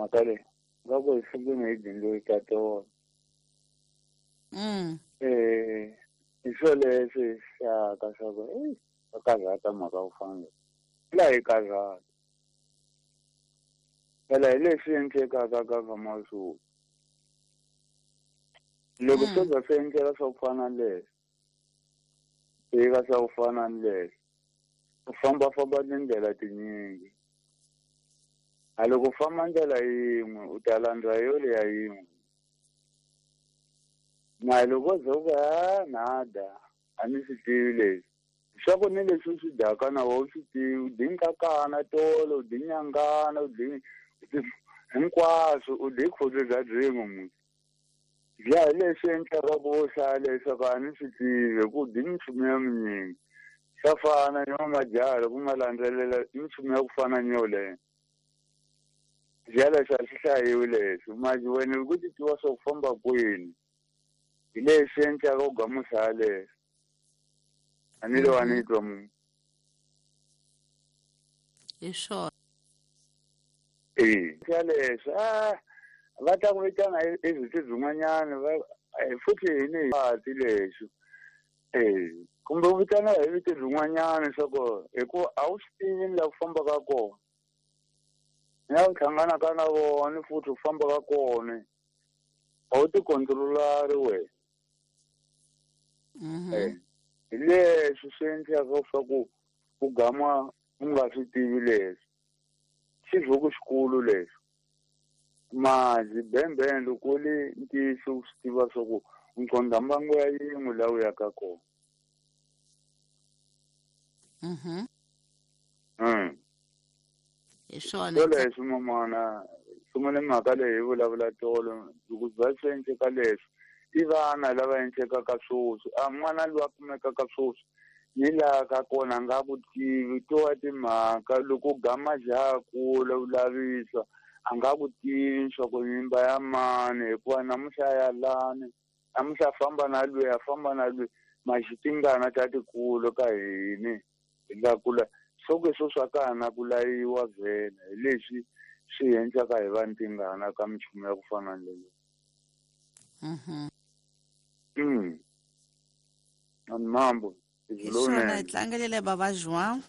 Mhaka leyi nga ku hi sungule hi dyondzo ta tona. Hi swo leswi hlaka swa ku ei va karhata mhaka ku fana la hi karhata phela hi leswi endlekaka ka vamasulu loko swo za swi endleka swa ku fana na leswi fika swa ku fana na leswi u fambafamba tindlela tinyingi a loko u famba ndlela yin'we u ta landza yo leya yin'we na loko ze u ku ha nada a ni swi tivi leswi swa ku ni leswi u swi dyaka na wena u swi tivi u dyi nkakana tolo u dyi nyangana u dyi hinkwaswo u dyi khudzu bya byin'we musi dya hi leswi endlaka ku vo hlaya leswaku a ni swi tivi hi ku dyi minchumu ya minyingi swa fana ni majaha loko ma landzelela minchumu ya ku fana ni yoleyo dya leswi a swi hlayiwi leswi manje wena loko u ti tiva swa ku famba kwini hi leswi endlaka u gamusa yaleyo a ni lo a ni twa munhu hi swona e ya leswi a va ta ku vitana hi vito byin'wanyana va futhi hi ni hati leswi e kumbe u vitana hi vito byin'wanyana swa ku hikuva a wu swi tivi ni laha ku fambaka kona ni la ku hlanganaka na vona futhi u fambaka kona a wu ti controlari wena. Hi leswi swi endlaka swa ku u gama u nga swi tivi leswi xivhuku xikulu leswi mazi bembeni loko li ntiyiso u swi tiva swa ku nqondha mbangu ya yin'we laha u yaka kona. Hi swona leswi mamana sungule mhaka leyi hi vulavula tolo loko bya swi endleka leswi i vana lava endlekaka swoswi a n'wana loyi a kumekaka swoswi ni laha ka kona a nga ku tivi to wa timhaka loko gama jaha kula u lavisa a nga ku tivi swa ku nyimba ya mani hikuva namuntlha ya lani namuntlha a famba na lweyi a famba na lweyi maxitingana ta tikulu ka hini hi nga kula swo ke swo swa ka na ku layiwa vhele hi leswi swi endlaka hi va ntingana ka minchumu ya ku fana na leyi. Ani mambo hi swona hi tlangelele baba João.